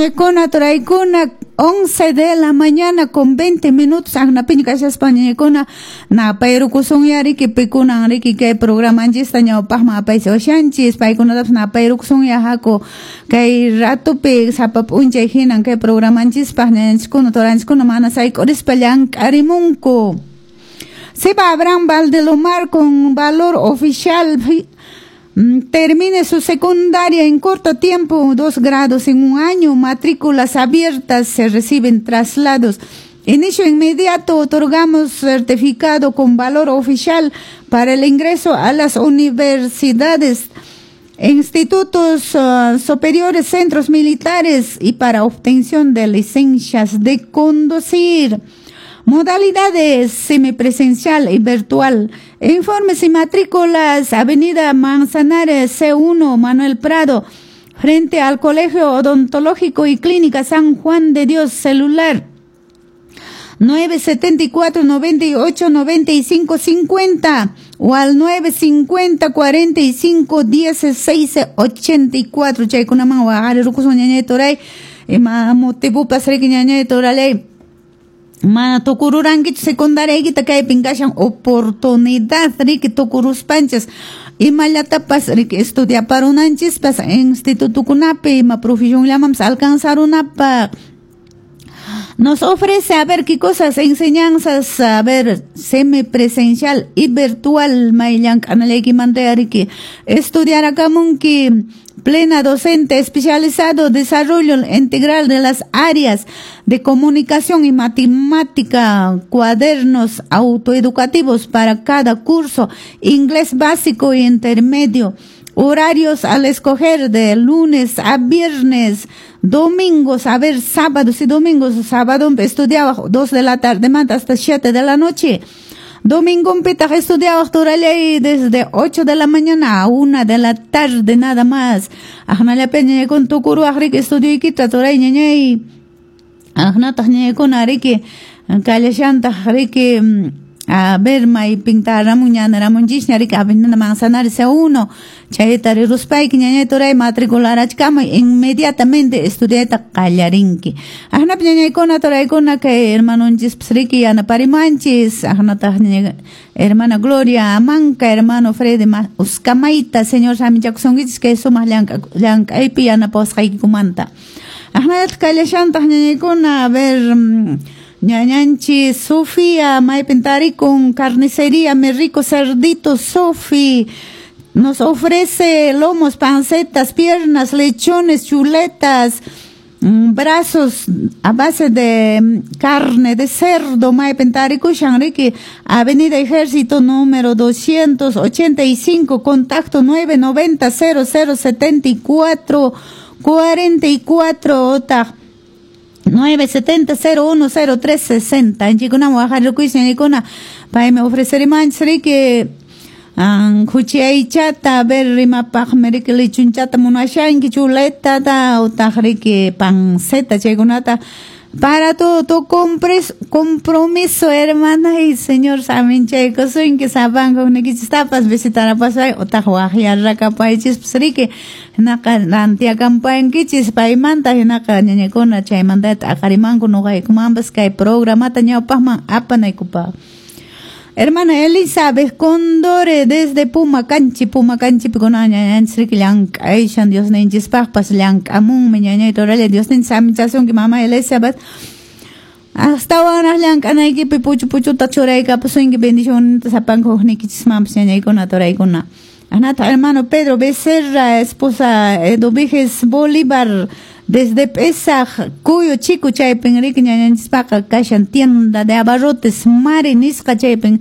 Ñañaykuna, turaykuna, 11 de la mañana con 20 minutos, aqnapiña kashaspa, ñañaykuna, napayrukusunya riki, pikunan riki kay programanchista ñawpaqman apaysiwashanchis, paykunatapas napayrukusunya. Haku, kay ratupi sapa p'unchay hinan kay programanchispaq ñañanchiskuna, turanchiskuna mana sayk'urispa llank'arimunku. Seba Abraham Valdelomar con valor oficial termine su secundaria en corto tiempo, 2 grados en un año, matrículas abiertas, se reciben traslados. Inicio inmediato, otorgamos certificado con valor oficial para el ingreso a las universidades, institutos superiores, centros militares y para obtención de licencias de conducir. Modalidades: semipresencial y virtual. Informes y matrículas, Avenida Manzanares C1, Manuel Prado, frente al Colegio Odontológico y Clínica San Juan de Dios, celular 974 98 95 50 o al 950 45 16 84. Chaykunaman waqarirukusun, ñañay, turay, ima motivopas riki, ñañay, turalay, mana tukururankichu secundariaykita, kaypin kashan oportunidad riki, tukuruspanchis imallatapas riki estudiaparunanchispas institutokunapi, ima profesionllamanpas alcanzarunapaq. Nos ofrece, a ver qué cosas, enseñanzas, a ver, semipresencial y virtual, may llank'anallaykimanta riki estudiarakamunki, plena docente especializado, desarrollo integral de las áreas de comunicación y matemática, cuadernos autoeducativos para cada curso, inglés básico y intermedio, horarios al escoger de lunes a viernes, domingos, a ver, sábados y domingos. Sábado estudiaba 2 de la tarde hasta 7 de la noche. Domingo pitaq estudiaba turallay desde 8 de la mañana a 1 de la tarde nada más. Aqnallapi ñañaykuna tukuruwaq riki estudioykita, turay, ñañay. Aqnataq ñañaykuna riki kallashantaq riki, a ver, maypin taramun ñanaramunchisña riki, Avenida Manzanares C1, chayta riruspayki, ñañay, turay, matricularachkamuy, inmediatamente estudiayta qallarinki. Aqnapi ñañaykuna, turaykuna, kay hermanonchispas riki yanaparimanchis, aqnataq hermana Gloria Amanca, hermano Freddy Uscamayta, Señor saminchakusunkichis kay sumaq llank'aypi yanapawasqaykikumanta. Aqnallataq kallashantaq, ñañaykuna, a ver, ñañanchis Sofía, maypin tarikun? Carnicería Mi Rico Cerdito Sofi nos ofrece lomos, pancetas, piernas, lechones, chuletas, brazos a base de carne de cerdo. Maypin tarikushan riki, Avenida Ejército número 285, contacto 990 0074 44 otaq 970 01 03 60. Anchikunaman waqarirukuy, ñañaykuna, paymi ofrecerimanchis riki khuchi aychata. A ver, rimapaqmi riki lechonchata munashanki, chuletata utaq riki panceta, chaykunata para todo tu compromiso, hermana, y Señor saminchaykusunki sapanka hukniykichistapas visitarapasay utaq waqyarrakapaychispas riki, hinaqa rantiakampankichis paymanta. Hinaqa ñañakuna chaymanta t'aqarimanku nuqaykumanpas kay programata ñawpaqman apanaykupaq. Hermana Elizabeth Condore desde Pumacanchi, Pumacanchipi kunan ñañanchis riki llank'ayshan, Diosninchispaqpas llank'amunmi, ñañay, turalla, Diosninchis saminchasunki, mama Elizabeth, astawanraq llank'anaykipi puchu puchuta churaykapusunki bendicionninta sapanka hukniykichismanpas, ñañaykuna, turaykuna. Anata hermano Pedro Becerra, esposa Eduviges Bolívar, desde Pesaj, Cuyo Chico, chaypin riki ñañanchispaqa kashan tienda de abarrotes Mari nisqa, chaypin.